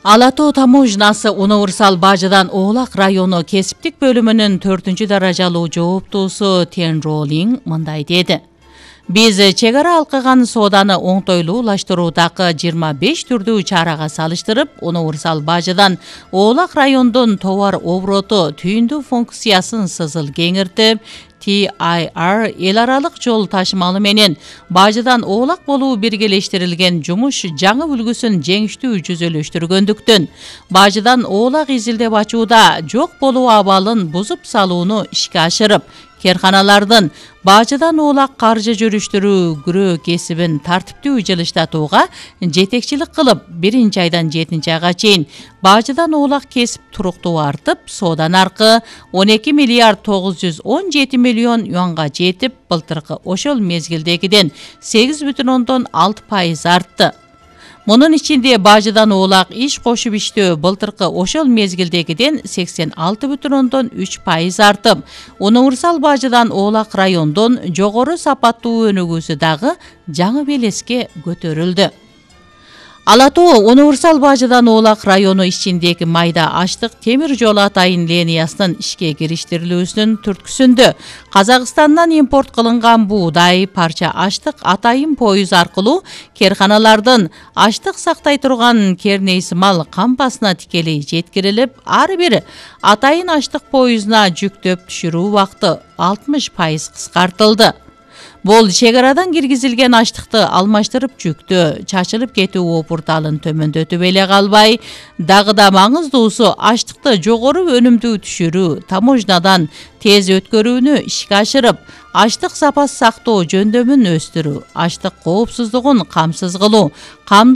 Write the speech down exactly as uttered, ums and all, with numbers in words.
Ала Тоо таможнасы универсал бажыдан Оолак району кесиптик бөлүмүнүн төртүнчү даражалуу жооптуусу Тен Ролинг мындай деди. Биз чек ара алкаган сооданы оңтойлуулаштыруудагы жыйырма беш түрдүү чарага салыштырып, универсал бажыдан Оолак райондун товар обороту түйүндүү функциясын сызыл кеңиртип, Ти Ай Ар эл аралык жол ташымалы менен бажыдан Оолак болуу биргелештирилген жумуш жаңы үлгүсүн жеңиштүү жүзөлөштүргөндүктөн бажыдан Оолак изилдеп ачууда жок болуу абалын бузуп салууну ишке ашырып, керканалардын бажыдан Оолак каржы жүрүштүрүү күрөө кесибин тартиптүү жылыштатууга жетекчилик кылып, биринчи айдан жетинчи айга чейин бажыдан Оолак кесип туруктуу артып, соода наркы он эки миллиард тогуз жүз он жети миллион юанга жетип, былтыркы ошол мезгилдегиден сегиз бүтүн ондон алты пайыз артты. Мунун ичинде бажыдан Оолак иш кошуп иштөө былтыркы ошол мезгилдегиден сексен алты бүтүн ондон үч пайыз артып, универсал бажыдан Оолак райондон жогору сапаттуу өнүгүүсү дагы жаңы белеске көтөрүлдү. Ала Тоо универсал бажыдан Оолак району ичиндеги майда аштык темир жол атайын линиясынын ишке кириштирилүүсүнүн түрткүсүндө Казакстандан импорт кылынган буудай, парча аштык атайын поюз аркылуу керканалардын аштык сактай турган керней сымал кампасына тикелей жеткирилип, ар бир атайын аштык поюзуна жүктөп түшүрүү убакыты алтымыш пайыз кыскартылды. Бул чек арадан киргизилген аштыкты алмаштырып жүктөө, чачылып кетүү опурталын төмөндөтүп эле калбай, дагы да маңыздуусу аштыкты жогору өнүмдүү түшүрүү, таможнадан тез өткөрүүнү ишке ашырып, аштык сапасы сактоо жөндөмүн өстүрүү, аштык коопсуздугун камсыз кылуу,